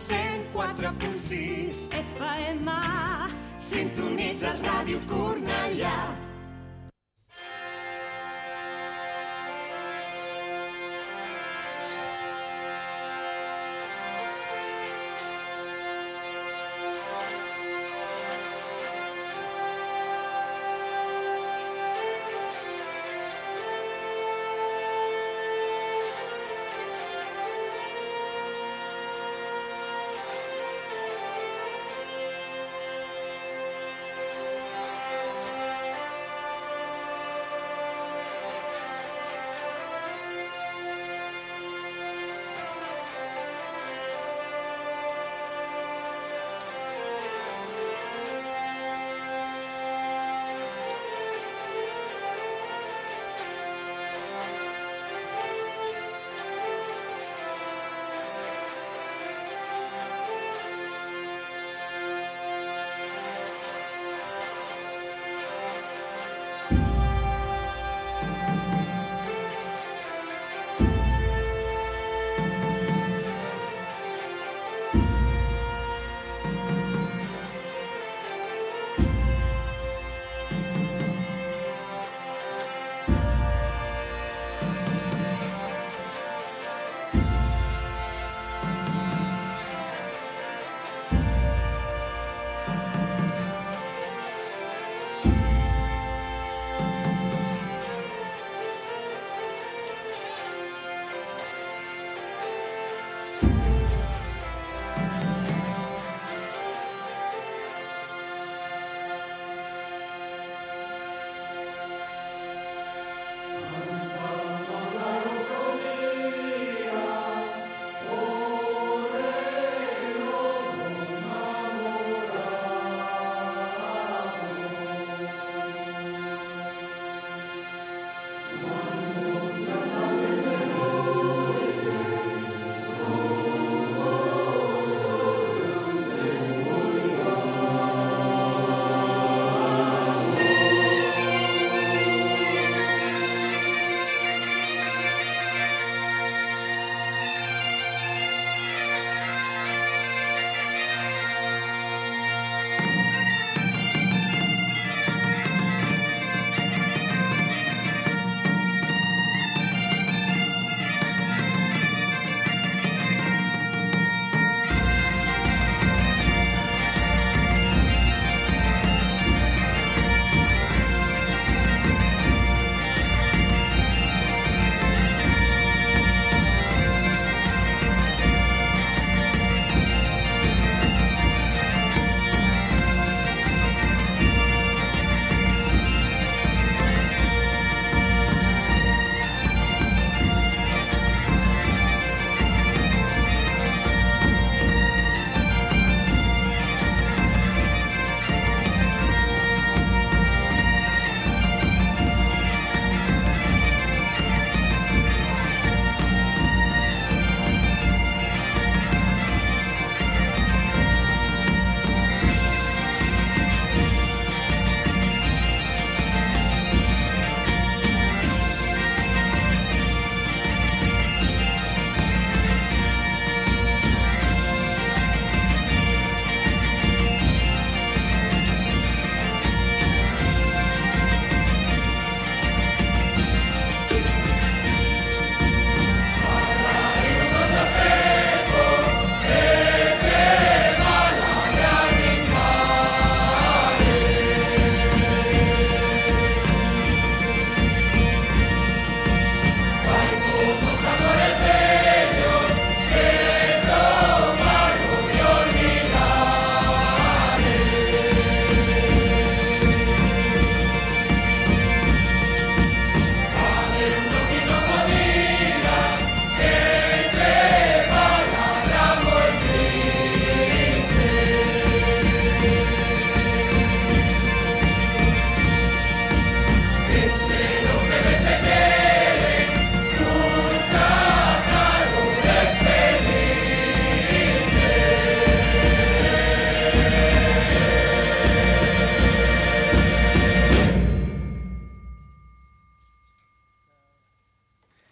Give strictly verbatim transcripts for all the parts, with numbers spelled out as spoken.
cent quatre punt sis F M. Sintonitzes Ràdio Cornellà.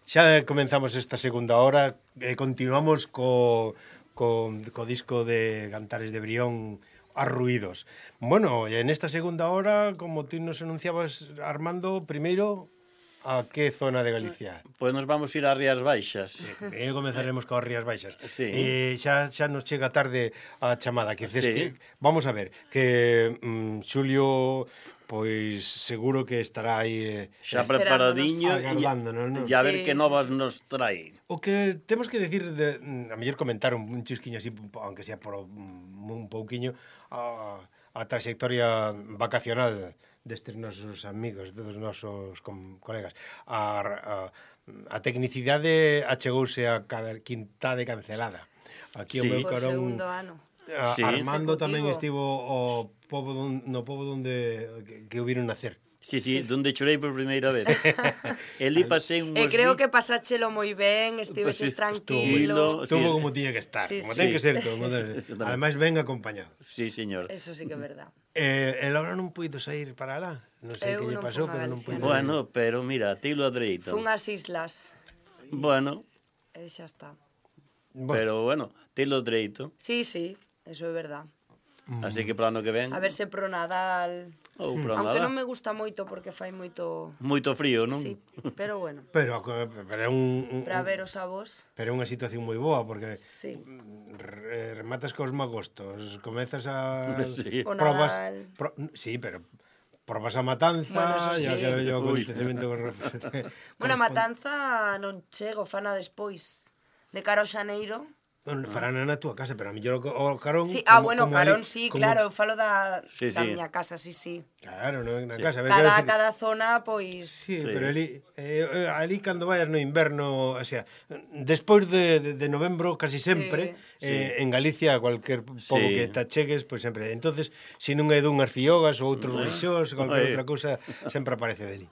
Xa comenzamos esta segunda hora e continuamos co, co, co disco de Cantares de Brión, Arruídos. Bueno, en esta segunda hora, como tú nos anunciabas, Armando, primeiro, a que zona de Galicia? Pois nos vamos ir ás Rías Baixas. Primeiro comenzaremos coas Rías Baixas. Sí. E xa, xa nos chega tarde a chamada. Que, Sí. que, vamos a ver, que mm, Xulio, pois seguro que estará aí Xa eh, preparadiño agardándonos, non? e a ver Sí, que novas nos trae. O que temos que decir, de, a mellor comentar un, un chisquiño así, aunque sea por un, un pouquiño, a, a trayectoria vacacional destes nosos amigos, dos nosos com, colegas. A, a, a tecnicidade achegouse a Quinta de Cancelada. Aquí Sí. o meu Por carón... segundo ano. A, Sí. Armando Consecutivo. tamén estivo o pobo don, no pobo donde que, que o viron nacer. Sí, sí, donde chorei por primeira vez. Elí pasei un E creo que pasáchelo moi ben, Pues sí, estiveches tranquilo. tranquilo. Estuvo sí. como tiña que estar, Sí, como sí. ten que ser todo. Como ten- Exactamente. Ademais, ben acompañado. Sí, señor. Eso sí que é verdad. Eh, el ahora non puido sair para lá. Non sei Eu que lle non pasou, fun a pero non Galicia. puido. Bueno, pero mira, tilo a dereito. Fun ás islas, Bueno, e xa está. Bueno, pero bueno, tilo dereito. Sí, sí, eso é verdad. Así que para ano que ven, A ver se pro Nadal... ou para Aunque nada. non me gusta moito porque fai moito... Moito frío, non? Sí, pero bueno, pero, pero é un, un, para ver os avós, pero é unha situación moi boa porque sí. re- rematas cos magostos, comezas a Sí. O probas, Nadal. pro, sí, pero probas a matanza, Bueno, eso e sí. aquele Ui. acontecemento Bueno, a matanza non chego, fana despois. De cara ao xaneiro... non farán na túa casa, pero a mellor o, o carón Sí, ah, como- bueno, como carón ali- sí, como- claro, eu falo da, Sí, da sí. miña casa, sí, sí. Claro, no, na casa, Cada, quero decir- cada zona, pois... Sí, Sí. pero ali, eh, ali cando vayas no inverno, o sea, despois de, de, de novembro casi sempre, Sí. eh, en Galicia, cualquier pobo Sí. que te achegues, pois sempre. Entonces, se non é dunhas fiogas ou outros rixós, cualquier Ai. outra cousa, sempre aparece deli.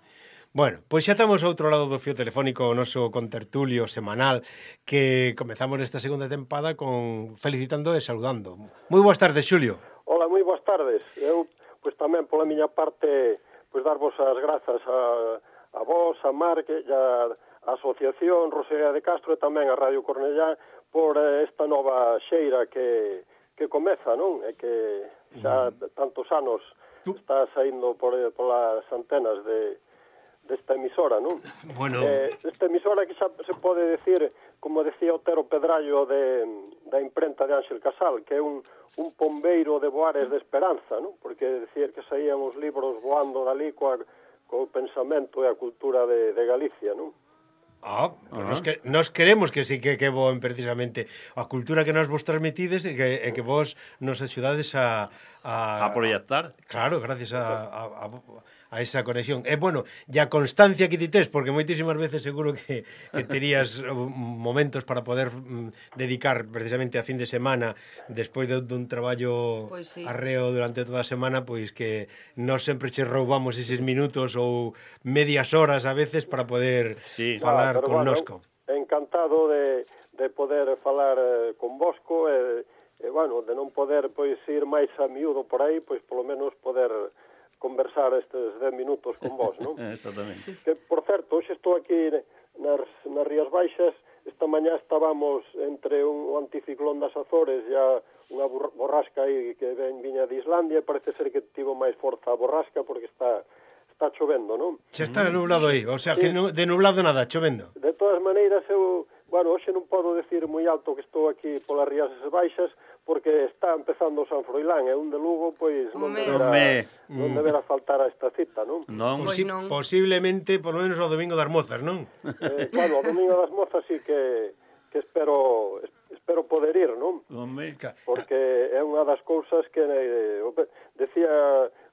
Bueno, pois xa estamos ao outro lado do fío telefónico o noso contertulio semanal que comezamos esta segunda tempada con felicitando e saludando. Moi boas tardes, Xulio. Ola, moi boas tardes. Eu, pois tamén pola miña parte, pois darvos as grazas a, a vos, a Marc e a, a Asociación Rosalía de Castro e tamén a Radio Cornellá por eh, esta nova xeira que, que comeza, non? E que xa tantos anos está saindo por, polas antenas de desta emisora, non? Bueno. Eh, esta emisora que xa se pode decir, como decía Otero Pedrallo de, da imprenta de Ángel Casal, que é un, un pombeiro de voares de esperanza, non? Porque decir que saían os libros voando dali coa, co pensamento e a cultura de, de Galicia, non? Ah, pues nos, que, nos queremos que sí que que bon precisamente a cultura que nos vos transmitides e que, e que vos nos axudades a, a, A proyectar. Claro, gracias a, a, a, a esa conexión. E bueno, e a constancia que ti tes, porque moitísimas veces seguro que, que terías momentos para poder mm, dedicar precisamente a fin de semana despois de, dun traballo Pois sí. arreo durante toda a semana, pois que nós sempre che roubamos eses minutos ou medias horas a veces para poder Sí. falar Ah, pero connosco. Bueno, encantado de, de poder falar eh, con vosco e, e, bueno, de non poder pois ir máis a miúdo por aí, pois polo menos poder conversar estes dez minutos con vos, non? Exactamente. Que, por certo, hoxe estou aquí nas, nas Rías Baixas. Esta mañá estábamos entre un, un anticiclón das Azores e a unha bor- borrasca aí que ven, viña de Islandia, e parece ser que tivo máis forza a borrasca porque está está chovendo, non? Xa está nublado aí, o sea, que no, de nublado nada, chovendo. De todas maneiras, eu, bueno, hoxe non podo decir moi alto que estou aquí polas Rías Baixas porque está empezando o San Froilán e un de Lugo, pois non Home. deberá, Home. non deberá faltar a esta cita, non? Non? Pois Posi- non. Posiblemente, por lo menos, o domingo das mozas, non? Eh, bueno, o Domingo das Mozas sí que, que espero espero poder ir, non? Home. Porque é unha das cousas que eh, decía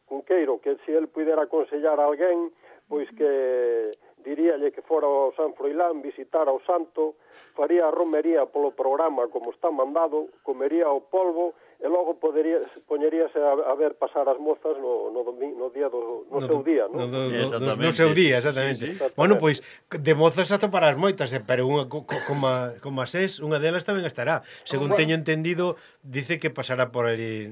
Cunqueiro que se el pudera aconsellar a alguén, pois que diríalle que fora ao San Froilán, visitar ao santo, faría a romería polo programa como está mandado, comería o polvo e logo podería poñeríase a, a ver pasar as mozas no, no, domi, no día do no, no seu día, No, non? no, no, no, Exactamente. no seu día, exactamente. Sí, sí. Bueno, pois, de mozas atoparás moitas, eh, pero unha, co, co- como, a, como as es, unha delas tamén estará. Según Bueno. teño entendido, dice que pasará por ali...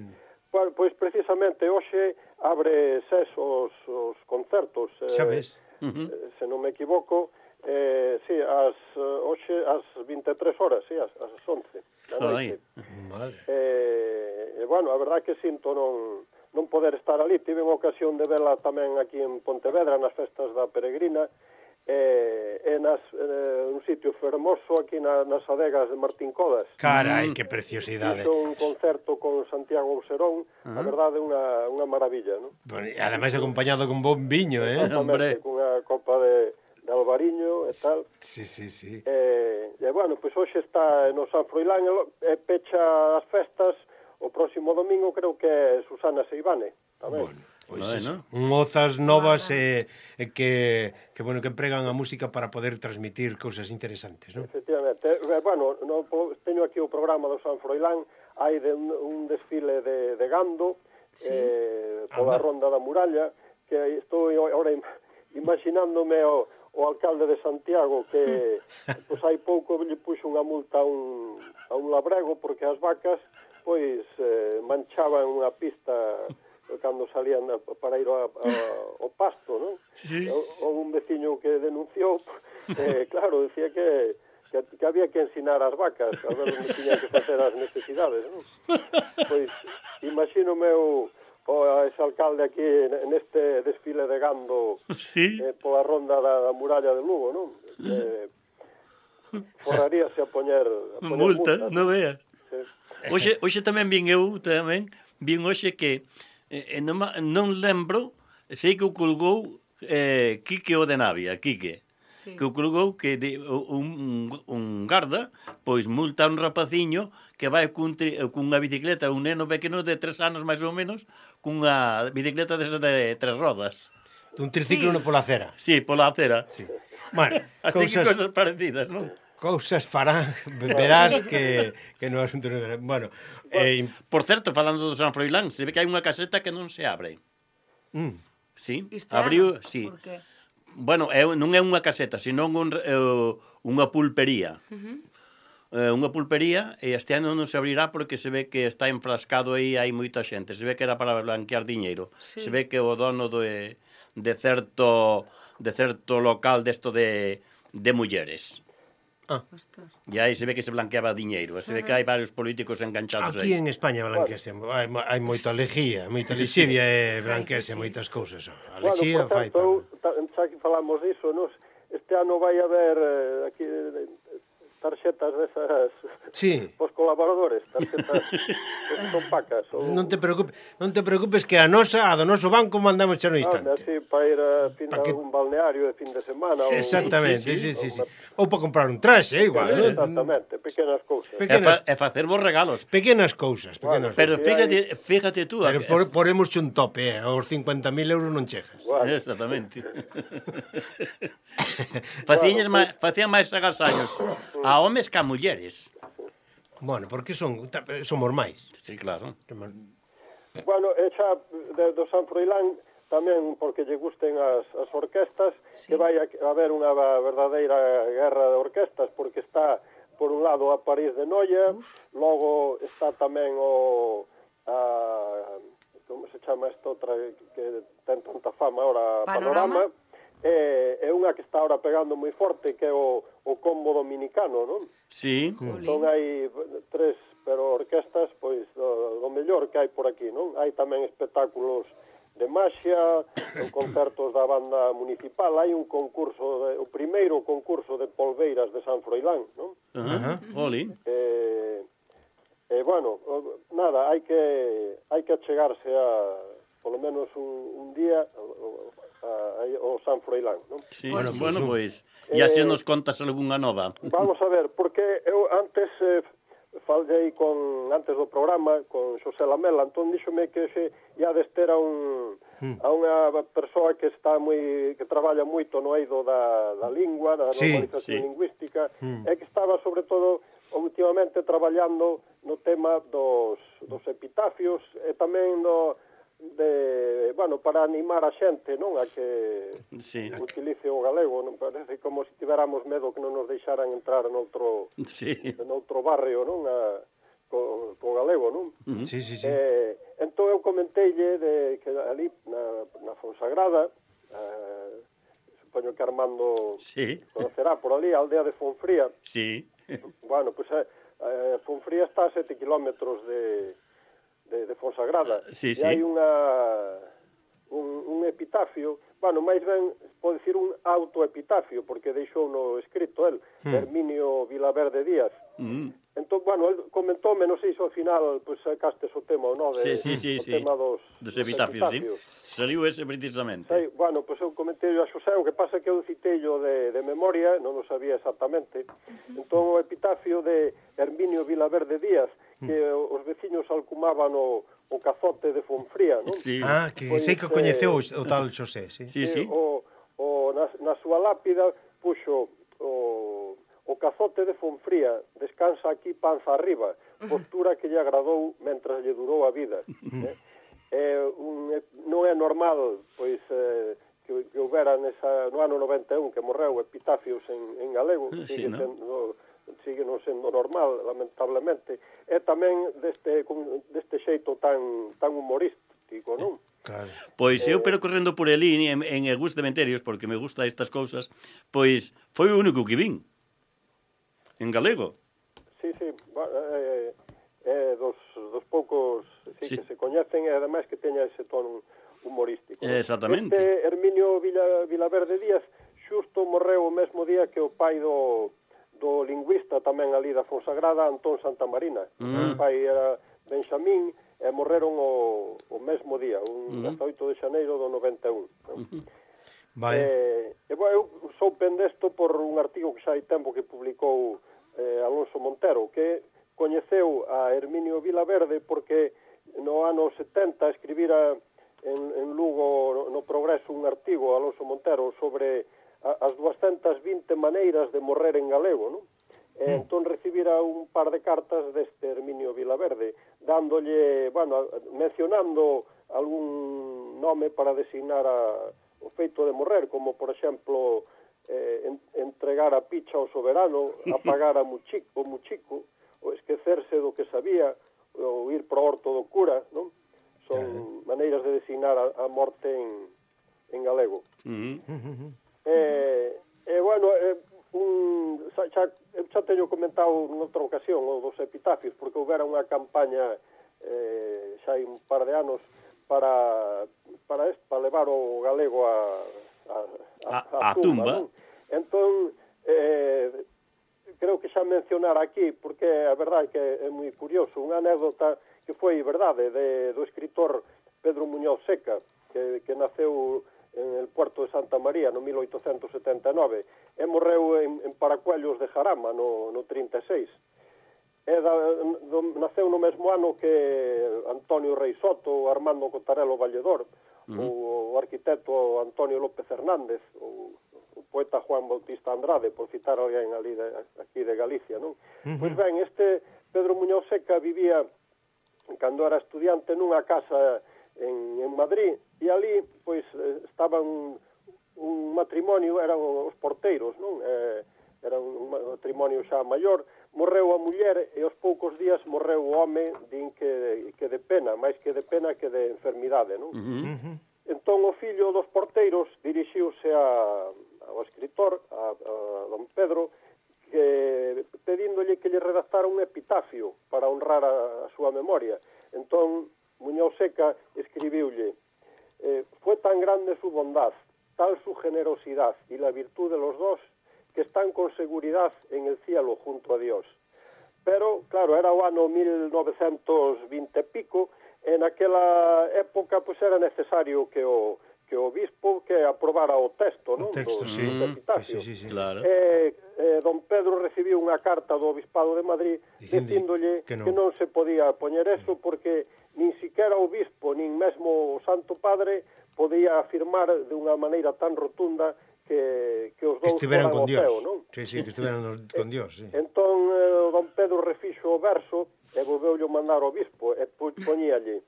Pois, pois precisamente hoxe abre ses os, os concertos, Xa eh, ves. eh, se non me equivoco, Eh, sí, as, uh, hoxe, as vinte e tres horas, sí, as, as once da noite. Madre. Eh, e, bueno, a verdad que sinto non, non poder estar ali. Tive unha ocasión de vela tamén aquí en Pontevedra, nas festas da Peregrina, eh, e nas, eh, un sitio fermoso aquí na, nas adegas de Martín Codas. Carai, que preciosidade. Hizo un concerto con Santiago Auserón, a verdade, unha, unha maravilla, non? Bueno, e ademais acompañado con bon viño, eh? Hombre. Exactamente, cunha copa de, de albariño e tal. Sí, sí, sí. E, e bueno, pois hoxe está no San Froilán e pecha as festas o próximo domingo, creo que é Susana Seivane tamén. Bueno, pois Bueno. eso, mozas novas e, e que, que, bueno, que empregan a música para poder transmitir cousas interesantes, non? Efectivamente. E, bueno, no, teño aquí o programa do San Froilán, hai de un, un desfile de, de gando, Sí. eh, pola Anda. Ronda da Muralla, que estou agora imaginándome o, o alcalde de Santiago que pois hai pouco lle puxo unha multa a un, a un labrego porque as vacas pois eh, manchaban unha pista cando salían a, para ir a, a, ao pasto, non? Sí. O, un veciño que denunciou, eh, claro, decía que, que que había que ensinar as vacas a ver onde tiñan que facer as necesidades, non? Pois imagínome o o ese alcalde aquí neste desfile de gando Sí. eh, pola ronda da, da muralla de Lugo, non? Eh, forraríase a poñer, a poñer Multa, multas. non veas. Sí. Hoxe, hoxe tamén vin eu, tamén, vin hoxe que eh, non, ma- non lembro, sei que o colgou eh, Quique o de Navia, Quique. Sí. Que o colgou que de, un, un garda pois multa a un rapaciño que vai cun tri, cunha bicicleta, un neno pequeno de tres anos máis ou menos, cunha bicicleta desas de tres rodas. Un triciclo Sí. no pola acera. Sí, pola acera. Sí. Bueno, Así que cousas, cosas parecidas, non? cousas farán, verás que, que no asunto non... Bueno, eh, Por certo, falando do San Froilán, se ve que hai unha caseta que non se abre. mm, Sí, Este abriu, ano? sí. Por que? Bueno, é, non é unha caseta, senón un, é, unha pulpería. Uh-huh. É, unha pulpería, e este ano non se abrirá porque se ve que está enfrascado aí, hai moita xente. Se ve que era para blanquear diñeiro. Sí. Se ve que o dono de, de certo de certo local desto de, de mulleres. Ostras. E aí se ve que se blanqueaba diñeiro. Se ve que hai varios políticos enganchados aquí aí. en España blanquease, hai, hai moita lejía, moita lexivia e blanquease sí. moitas cousas. A Bueno, lexía por fai... certo, eu, ta- xa que falamos diso, nos, este ano vai haber eh, aquí eh, tarxetas desas Sí. pos colaboradores, tarxetas que son pacas. Ou, Non te preocupes, non te preocupes que a nosa, a do noso banco mandamos xa no Ah, instante. así para ir a fin Pa de que- un balneario de fin de semana. Sí, ou- exactamente, sí, sí, sí, sí. Ou para comprar un traxe, eh, igual, non? Exactamente, pequenas cousas. E, Pequenas, fa, e facer vos regalos. pequenas cousas, pequenas. Pero Sí, fíjate, fíjate tú. Pero a- por, poremos un tope, eh, aos cincuenta mil euros non chegas. Bueno, Exactamente. Facían máis, facían máis agasallos a homes que a mulleres. Bueno, porque son ta- somos máis. Sí, claro. bueno, e xa de, do San Froilán tamén porque lle gusten as, as orquestas, Sí. que vai a, a haber unha verdadeira guerra de orquestas, porque está, por un lado, a París de Noia, Uf. logo está tamén o... A, como se chama esta outra que ten tanta fama ahora, Panorama. Panorama, e, é unha que está ahora pegando moi forte, que é o, o combo dominicano, non? Sí. Jolín. Son hai tres, pero orquestas, pois, do, do mellor que hai por aquí, non? Hai tamén espectáculos de maxia, concertos da banda municipal, hai un concurso, de, o primeiro concurso de polveiras de San Froilán, non? Ajá. Jolín. Eh, e, bueno, o- nada, hai que hai que achegarse a, polo menos un, un día, o- a, a, ao San Froilán, non? Sí. Pois Bueno, sí. bueno, pois, e así Eh, nos contas algunha nova. Vamos a ver, porque eu antes eh, falei con antes do programa con Xosé Lamela, entón díxome que se ia dester a un a unha persoa que está moi que traballa moito no eido da, da lingua, da Sí, normalización sí. lingüística, e que estaba sobre todo últimamente traballando no tema dos dos epitafios e tamén no de, bueno, para animar a xente, non, a que Sí. utilice o galego, non parece como se tiveramos medo que non nos deixaran entrar noutro Sí. noutro barrio, non, a, co, co galego, non? Mm. Sí, sí, sí. Eh, entón eu comenteille de que ali na, na Fonsagrada, eh, supoño que Armando Sí. conocerá por ali, a aldea de Fonfría. Sí. Bueno, pues eh, eh, Fonfría está a sete kilómetros de, de, de Fonsagrada. Sí, e sí. hai unha, un, un epitafio, bueno, máis ben, pode dicir un autoepitafio, porque deixou no escrito el, Hmm. Herminio Vilaverde Díaz. Mm. Entón, bueno, el comentóme, non sei se ao final, pois, sacastes o tema ou non, Sí, de, sí, sí, o sí. tema dos, Dos epitafios, sí. epitafios. Saliu ese precisamente. Sei, bueno, pois eu comentei a Xosé, o que pasa é que eu citeillo de, de memoria, non o sabía exactamente. Entón, o epitafio de Herminio Vilaverde Díaz, que os veciños alcumaban o, o cazote de Fonfría, non? Sí. Ah, que Pois, sei que o coñeceu eh, o tal Xosé, sí. Sí, Eh, sí. O, o, na, na súa lápida puxo o, o cazote de Fonfría, descansa aquí panza arriba, postura que lle agradou mentras lle durou a vida. eh? Eh, un, non é normal, pois, eh, que, que houbera nesa, no ano noventa e un que morreu epitafios en, en galego, Sí, sigue, ¿no? sendo, sigue non sendo normal, lamentablemente, e tamén deste, con- deste xeito tan, tan humorístico, non? Claro. Pois eu percorrendo por ali en, en Egus Cementerios, porque me gusta estas cousas, pois foi o único que vin. En galego. Sí, sí, va- eh, eh, dos, dos poucos sí, Sí. que se coñecen e ademais que teña ese tono humorístico. ¿no? Exactamente. Este Herminio Vila, Vilaverde Díaz xusto morreu o mesmo día que o pai do, do lingüista tamén ali da Fonsagrada, Antón Santamarina. Mm. O pai era Benxamín e morreron o, o mesmo día, un Mm. dezaoito de xaneiro do noventa e un. ¿no? Vale. Eh, e, bueno, eu sou pendesto por un artigo que xa hai tempo que publicou eh, Alonso Montero, que coñeceu a Herminio Vilaverde porque no ano setenta escribira en, en Lugo no Progreso un artigo, Alonso Montero, sobre a, as doscientas vinte maneiras de morrer en galego, non? E entón recibira un par de cartas deste Herminio Vilaverde, dándolle, bueno, mencionando algún nome para designar a, o feito de morrer, como, por exemplo, eh, en, entregar a picha ao soberano, apagar a muchico, o muchico, ou esquecerse do que sabía, ou ir pro orto do cura, non? Son maneiras de designar a, a morte en, en galego. Mm. Eh, e, bueno, eh, un, xa, xa, xa teño comentado noutra ocasión o dos epitafios, porque houbera unha campaña eh, xa hai un par de anos para para, est, para levar o galego a, a, a, A- a tumba. non? Entón, eh, creo que xa mencionar aquí, porque a verdade é que é moi curioso, unha anécdota que foi verdade de, do escritor Pedro Muñoz Seca, que, que naceu en el puerto de Santa María no mil oitocentos setenta e nove e morreu en, en Paracuellos de Jarama no, no trinta e seis. E da, do, naceu no mesmo ano que Antonio Rei Soto, Armando Cotarelo Valledor, uh -huh. o, o arquitecto Antonio López Hernández, o, o poeta Juan Bautista Andrade, por citar alguén ali de, aquí de Galicia, non? Uh -huh. Pois ben, este Pedro Muñoz Seca vivía, cando era estudiante, nunha casa en, en Madrid, e ali, pois, estaban un, un matrimonio, eran os porteiros, non? Eh, era un matrimonio xa maior, morreu a muller e aos poucos días morreu o home, din que, que de pena, máis que de pena que de enfermidade, non? Uh -huh. Entón o fillo dos porteiros dirixiuse a, ao escritor, a, a don Pedro, que pedíndolle que lle redactara un epitafio para honrar a, a súa memoria. Entón Muñoz Seca escribiulle: eh, fue tan grande su bondad, tal su generosidad y la virtud de los dos, que están con seguridad en el cielo junto a Dios. Pero, claro, era o ano mil novecentos vinte e pico, e naquela época pues, era necesario que o, que o obispo que aprobara o texto, non? O texto, do, sí. do epitafio. Sí, sí, sí. Claro. E, eh, don Pedro recibiu unha carta do Obispado de Madrid dicíndolle que non. que non se podía poñer eso porque nin siquiera o obispo, nin mesmo o Santo Padre podía afirmar de unha maneira tan rotunda que, que os Que dous estiveran foran con ao Dios. ceo, non? Sí, sí, que estiveran con Dios, sí. Entón, eh, don Pedro refixo o verso e volveulle mandar ao obispo e po- poñíalle: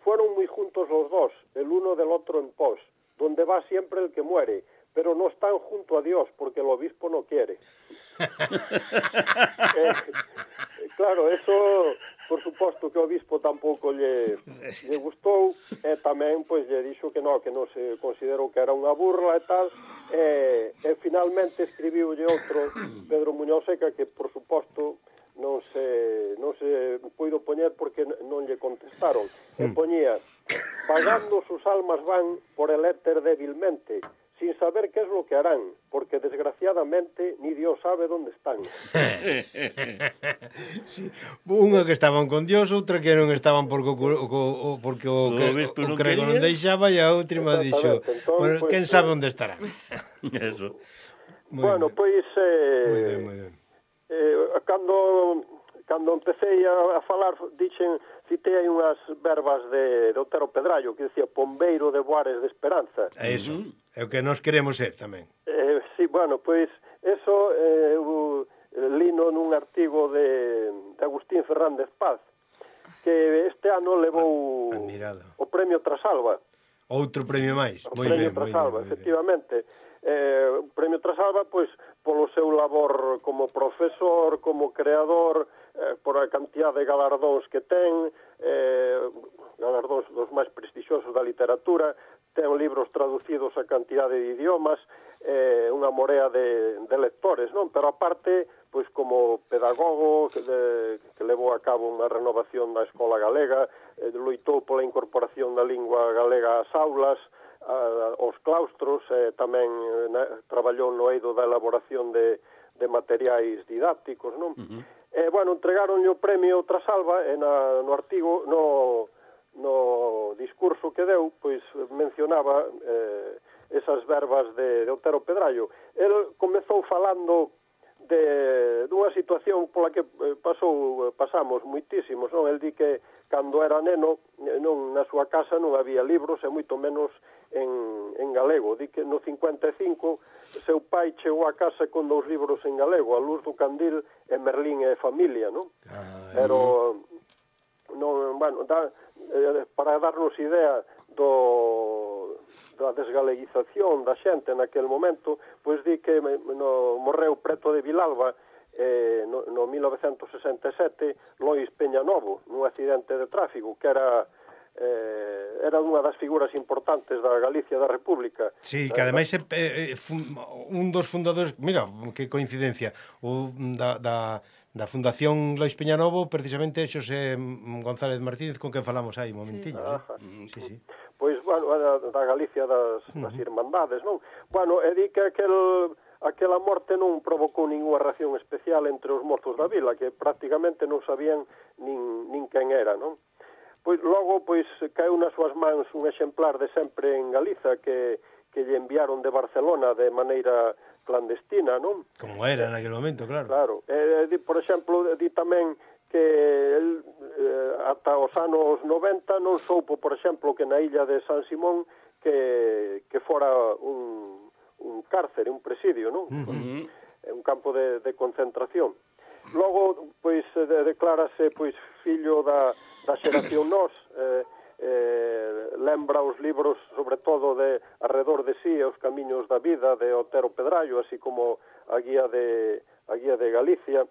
fueron muy juntos los dos, el uno del otro en pos, donde va siempre el que muere, pero no están junto a Dios porque el obispo no quiere. eh, claro, eso, por suposto que o obispo tampouco lle, lle gustou, e tamén pois lle dixo que no, que non se considerou que era unha burla e tal, e, e finalmente escribiulle outro, Pedro Muñoz Seca, que por suposto non se, non se puido poñer porque non lle contestaron. E poñía: vagando sus almas van por el éter débilmente, sin saber qué es lo que harán, porque desgraciadamente ni Dios sabe dónde están. Sí. Unha que estaban con Dios, outra que non estaban porque o, o, o, porque o, que, o, o crego non deixaba, e a última dixo, Entón, bueno, pues, quen sabe onde estarán. Eso. Muy bueno, bien. pois eh, Muy bien, muy bien. eh, cando cando empecé a, a falar, dixen, citei aí unhas verbas de, de Otero Pedrallo, que dicía pombeiro de Boares de Esperanza. É iso, é o que nós queremos ser tamén. Eh, sí, bueno, pois eso eh, eu lino nun artigo de, de Agustín Fernández Paz, que este ano levou Admirado. o premio Trasalba. Outro premio máis. O Moi premio ben, moi Trasalba, ben, moi ben. efectivamente. Eh, o premio Trasalba, pois, polo seu labor como profesor, como creador, eh, por a cantidad de galardóns que ten, eh, galardóns dos máis prestixiosos da literatura, ten libros traducidos a cantidad de idiomas, eh, unha morea de, de lectores, non? Pero aparte, pois como pedagogo que, de, que levou a cabo unha renovación da escola galega, eh, loitou pola incorporación da lingua galega ás aulas, a, aos claustros, eh, tamén eh, traballou no eido da elaboración de, de materiais didácticos, non? Uh-huh. Eh, bueno, entregaronlle o premio Trasalba e na, no artigo, no, no discurso que deu, pois mencionaba eh, esas verbas de, de Otero Pedrallo. El comezou falando de dunha situación pola que pasou pasamos moitísimos, non? El di que cando era neno, non na súa casa non había libros e moito menos en, en galego. Di que no cincuenta e cinco seu pai chegou a casa con dous libros en galego, A luz do candil e Merlín e familia, non? Ay. Pero non, bueno, da, eh, para darnos idea do da desgaleguización da xente naquel momento, pois di que no, morreu preto de Vilalba eh, no, no mil novecentos sesenta e sete Lois Peñanovo, nun accidente de tráfico, que era eh, era unha das figuras importantes da Galicia da República. Sí, que ademais é eh, un dos fundadores, mira, que coincidencia, o da, da, da Fundación Lois Peñanovo, precisamente Xosé González Martínez, con quen falamos aí un momentiño. Sí, sí, sí. Pois, bueno, da, da Galicia das, das Irmandades, non? Bueno, e di que aquel, aquela morte non provocou ninguna reacción especial entre os mozos da vila, que prácticamente non sabían nin, nin quen era, non? Pois logo, pois, caeu nas súas mans un exemplar de Sempre en Galiza que, que lle enviaron de Barcelona de maneira clandestina, non? Como era naquele momento, claro. Claro. E, di, por exemplo, di tamén que el, eh, ata os anos noventa non soupo, por exemplo, que na illa de San Simón que, que fora un, un cárcere, un presidio, non? Uh-huh. Un campo de, de concentración. Logo, pois, de, declárase pois fillo da, da xeración Nós, eh, eh, lembra os libros, sobre todo, de Arredor de sí, Os camiños da vida, de Otero Pedrallo, así como a guía de, a guía de Galicia.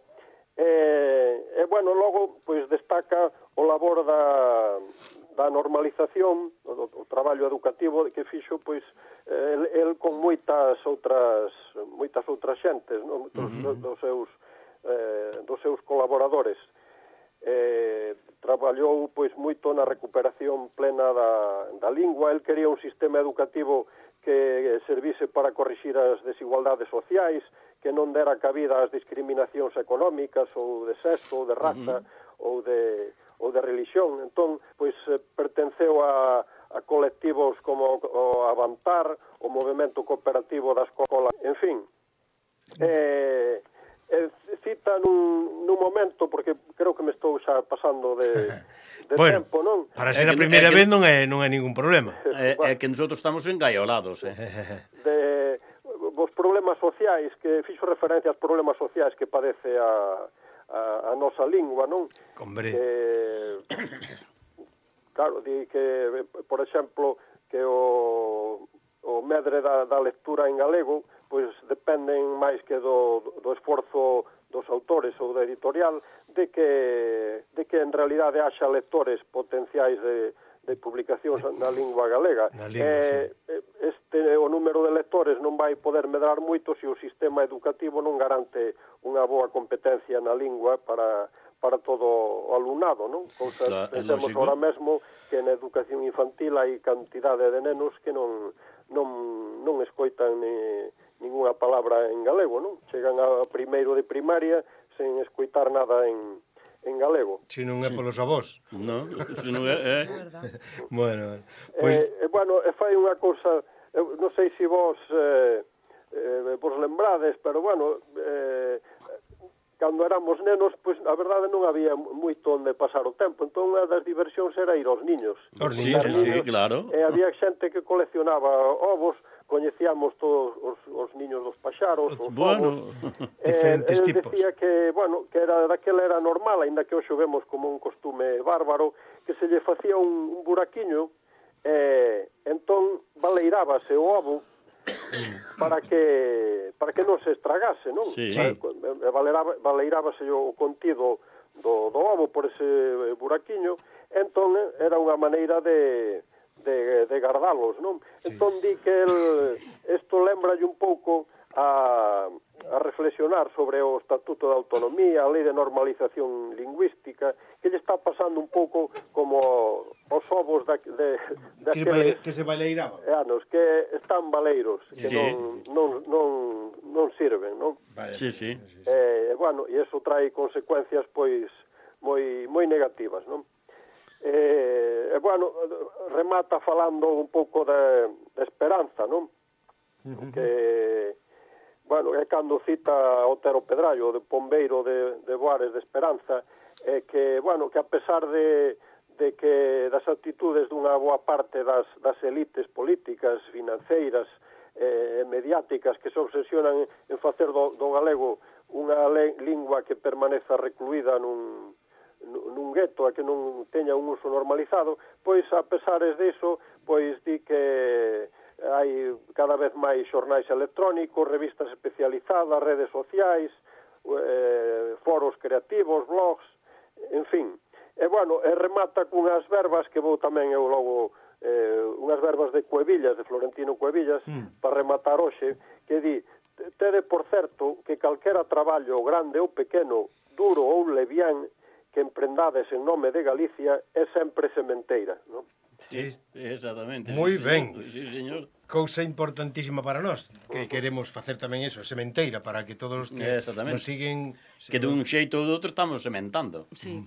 E, e bueno, logo pois destaca o labor da, da normalización, o, o traballo educativo que fixo pois el, el con moitas outras moitas outras xentes, non? Dos, uh-huh. dos seus eh, dos seus colaboradores. Eh, traballou pois moito na recuperación plena da, da lingua. El quería un sistema educativo que servise para corrixir as desigualdades sociais, que non dera cabida ás discriminacións económicas ou de sexo ou de raza uh-huh. ou de ou de religión. Entón, pois pertenceu a, a colectivos como o Avantar, o movemento cooperativo da escola, en fin. Eh, eh, cita nun, nun momento, porque creo que me estou xa pasando de, de bueno, tempo, non? Para ser a primeira vez non é non é ningún problema. É, é que nosotros estamos engaiolados, eh. De os problemas sociais, que fixo referencia aos problemas sociais que padece a, a, a nosa lingua, non? Hombre. Que, claro, di que, por exemplo, que o, o o medre da, da lectura en galego pois dependen máis que do, do esforzo dos autores ou da editorial de que, de que en realidade haxa lectores potenciais de, de publicacións na lingua galega. Na lingua, eh, sí. Este, o número de lectores non vai poder medrar moito se o sistema educativo non garante unha boa competencia na lingua para, para todo o alumnado, non? Cousas, Claro, pensemos lógico. ahora mesmo que na educación infantil hai cantidade de nenos que non, non, non escoitan ni ninguna palabra en galego, non? Chegan a primeiro de primaria sen escoitar nada en, en galego. Si non é polos avós. No, se non é... Eh? Bueno, Pois... pois... Eh, bueno, e fai unha cousa, eu non sei se vos eh, eh, vos lembrades, pero bueno, eh, cando éramos nenos, pois a verdade non había moito onde pasar o tempo, entón unha das diversións era ir aos niños. Os Sí, niños, sí, sí, claro. E había xente que coleccionaba ovos, coñecíamos todos os, os niños dos paxaros, os Bueno, ovos. Diferentes el tipos. decía que, bueno, que era daquela era normal, aínda que hoxe o vemos como un costume bárbaro, que se lle facía un, un buraquiño e entón baleirábase o ovo para que para que non se estragase, non? Sí. Para, baleiraba, baleirábase o contido do, do ovo por ese buraquiño, entón era unha maneira de de, de gardalos, non? Sí. Entón di que el, isto lembralle un pouco a, a reflexionar sobre o Estatuto de Autonomía, a Lei de Normalización Lingüística, que lle está pasando un pouco como os ovos da, de, de Que, aqueles baile, que se baileiraban. anos, que están baleiros, que Sí. non, non, non, non sirven, non? Vale. Sí, sí. Eh, bueno, e iso trae consecuencias, pois, moi, moi negativas, non? Eh, e, bueno, remata falando un pouco de, de esperanza, non? Uh-huh. Que, bueno, é cando cita Otero Pedrallo, de Pombeiro de, de Boares de Esperanza, é que, bueno, que a pesar de, de que das actitudes dunha boa parte das, das elites políticas, financeiras, eh, mediáticas, que se obsesionan en facer do, do galego unha le, lingua que permaneza recluída nun nun gueto a que non teña un uso normalizado, pois a pesares diso, pois di que hai cada vez máis xornais electrónicos, revistas especializadas, redes sociais, eh, foros creativos, blogs, en fin. E, bueno, e remata cunhas verbas que vou tamén eu logo, eh, unhas verbas de Cuevillas, de Florentino Cuevillas, mm. para rematar hoxe, que di, tede por certo que calquera traballo grande ou pequeno, duro ou levián, que emprendades en nome de Galicia é sempre sementeira, non? Sí, exactamente. Moi sí, ben. Señor. Sí, señor. Cousa importantísima para nós, que queremos facer tamén eso, sementeira, para que todos os que nos siguen... Que dun xeito ou do outro estamos sementando. Sí.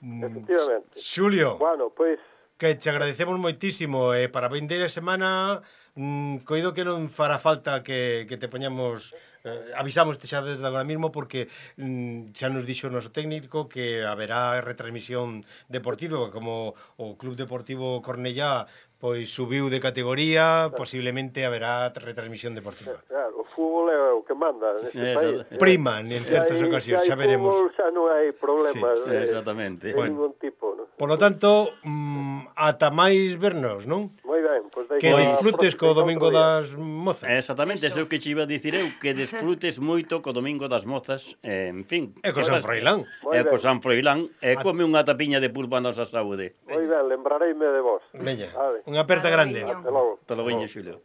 Efectivamente. Xulio, Bueno, pois... que te agradecemos moitísimo, e eh, para vindeira semana mm, coido que non fará falta que, que te poñamos... Eh, avisamos xa desde agora mismo porque mm, xa nos dixo o noso técnico que haberá retransmisión deportiva, como o Club Deportivo Cornellá pois subiu de categoría, posiblemente haberá retransmisión deportiva. Claro, o fútbol é o que manda neste Exacto. país. Prima, en certas hai, ocasións, xa xa veremos. Fútbol, xa non hai problemas Sí, de, exactamente. de Bueno. ningún tipo, non? Por lo tanto, mm, ata máis vernos, non? Moi ben, pois Que disfrutes co Domingo das... das Mozas. Exactamente, Eso. eso que che iba a dicir eu, que desfrutes moito co Domingo das Mozas, eh, en fin. E co San Froilán. E co San Froilán, e come unha tapiña de pulpa a nosa saúde. Moi ben, lembrareime de vos. Veña, Vale. unha aperta grande. Adiño. Hasta logo. Hasta logo, Xulio.